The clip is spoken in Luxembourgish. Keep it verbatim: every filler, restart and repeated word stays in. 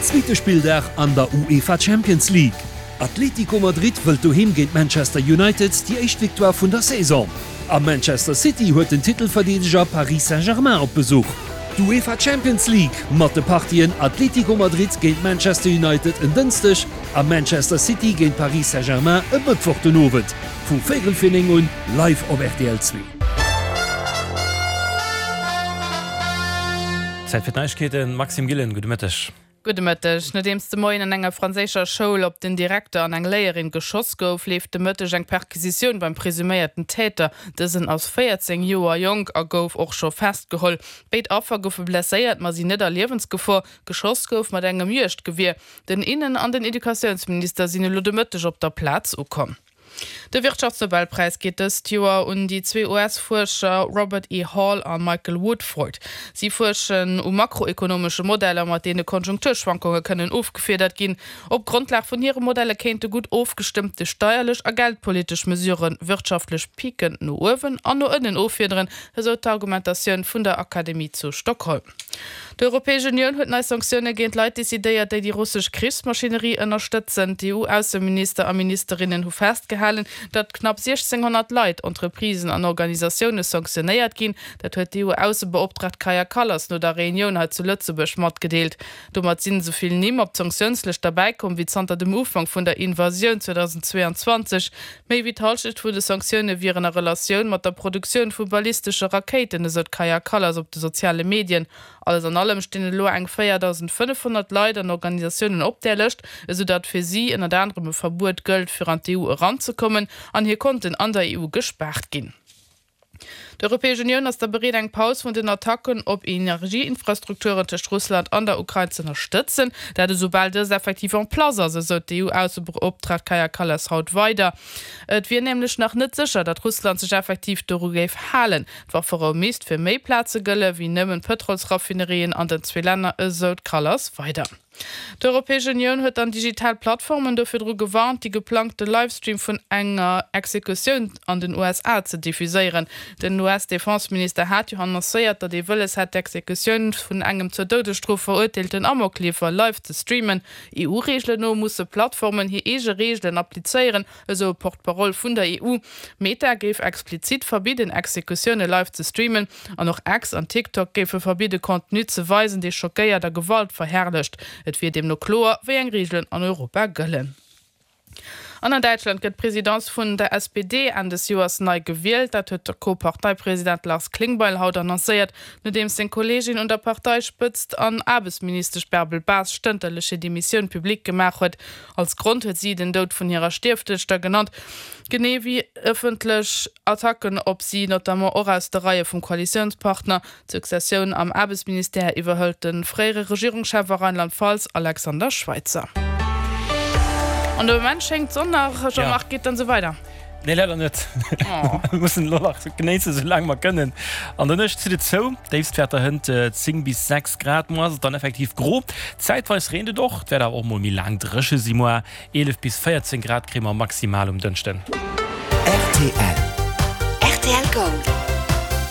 Zweete Spilldag an der UEFA Champions League. Atlético Madrid wëllt doheem géint Manchester United déi éischt Victoire vun der Saison. A Manchester City huet den Titelverdeedeger Paris Saint-Germain op Besuch. D'UEFA Champions League mat de Partien Atlético Madrid géint Manchester United en Dënschdeg a Manchester City géint Paris Saint-Germain e Mëttwoch den Owend vu véierel fir néng un live op rtl zwee. Zäit fir d'Neiegkeeten, Maxime Gillen, gudde Mëtteg. Gudde Mëtteg. Nodeems de Moien an enger franséischer Schoul op den Direkter an eng Léierin geschoss gouf, leeft de Mëtteg eng Perquisitioun beim presuméierten Täter. Dësen ass véierzéng Joer jonk a gouf och scho festgeholl. Béid Affer goufe blesséiert, ma sinn net a Liewensgefor. Geschoss gouf mat engem Juegdgewier. Den Innen an den Educatiounsminister sinn elo de Mëtteg op der Plaz ukomm. De Wirtschaftsnobelpräis geet dëst Joer un déi zwee U S-Fuerscher Robert E. Hall a Michael Woodford. Si fuerschen u makroekonomesche Modeller, mat deene Konjunkturschwankunge kënnen ofgefiedert ginn. Op Grondlag vun hire Modelle kéinte gutt ofgestëmmte steierlech a geldpolitesch Mesurë wirtschaftlech Piken no uewen an no ënnen offiederen, esou d'Argumentatioun vun der Akademie zu Stockholm. D'Europäesch Unioun huet nei Sanktioune géint Leit decidéiert, déi déi russesch Krichsmaschinerie ënnerstëtzen. D'EU-Ausseminister a ministerinnen hu festgehalen, datt knapp siechzénghonnert Leit, Entreprisen an Organisatioune sanktionéiert ginn. Dat huet d'EU-Aussebeoptraagt Kaja Kallas no der Reunioun hei zu Lëtzebuerg matgedeelt. Domat sinn esou vill Nimm op d'Sanktiounslëscht derbäikomm wéi zanter dem Ufank vun der Invasioun zweedausendzweeanzwanzeg. Méi wéi d'Hallschent vun de Sanktioune wieren a Relatioun mat der Produktioun vu ballistesche Rakéiten, esou d'Kaja Kallas op de soziale Medien. Alles an allem stinn elo eng véierdausendfënnefhonnert Leit an Organisatiounen op där Lëscht, esou datt fir si ënnert anerem e Verbuet gëllt, fir an d'E U eranzekommen an hir Konten an der E U gespaart ginn. D'Europäesch Unioun ass da bereet, eng Paus vun den Attacken op Energieinfrastrukturen tëscht Russland an der Ukrain ze ënnerstëtzen. Dat esoubal dës effektiv en place ass, esou d'EU-Aussebeoptraagt Kaja Kallas haut weider. Et wier nämlech nach net sécher, datt Russland sech effektiv doru géif halen. D'Wafferou misst fir méi Plaze gëlle wéi nëmmen d'Pëtrolsraffinerien an den zwee Länner, esou d'Kallas weider. D'Europäesch Unioun huet dann digital Plattformen do virdru gewarnt, déi geplangte Livestream vun enger Exekutioun an den U S A ze diffuséieren. Den U S-Defenseminister hat jo annoncéiert, datt ee wëlles hätt, d'Exekutioun vun engem zur Doudesstrof verurteelten Amokleefer live ze streamen. E U-Reegelen no musse Plattformen hir eege Reegelen applizéieren, esou e Porte-parole vun der E U. Meta géif explizit verbidden, Exekutioune live ze streamen. An och X an TikTok géife verbidde Contenu ze weisen, dee schockéiert a Gewalt verherrlecht. Et wier deemno kloer, wéi eng Reegelen an Europa gëllen. An an Däitschland gëtt d'Presidence vun der S P D Enn des Joers nei gewielt. Dat huet de Co-Parteipresident Lars Klingbeil haut annoncéiert, nodeems seng Kolleegin un der Parteispëtzt an Aarbechtsministesch Bärbel Bas stënterlech hir Demissioun public gemaach huet. Als Grond huet si den Doud vun hirer Stiefduechter genannt, genee wéi ëffentlech Attacken op si, notamment och aus de Reie vum Koalitiounspartner. D'Successioun am Aarbechtsministère iwwerhëlt de fréiere Regierungschef a Rheinland-Pfalz Alexander Schweitzer. An de Moment schéngt d'Sonn nach, Jean-Marc, geet dann esou weider? Nee, leider net. Mir mussen elo nach genéissen, esou laang mer kënnen. An der Nuecht zitt et zou, Déifstwäerter hënt zéng bis sechs Grad. Muer ass et dann effektiv gro, zäitweis reent et och, et wäert awer och mol méi laang dréche si muer. eelef bis véierzéng Grad kréie mer maximal um Dënschden. Rtl. Rtl Gold.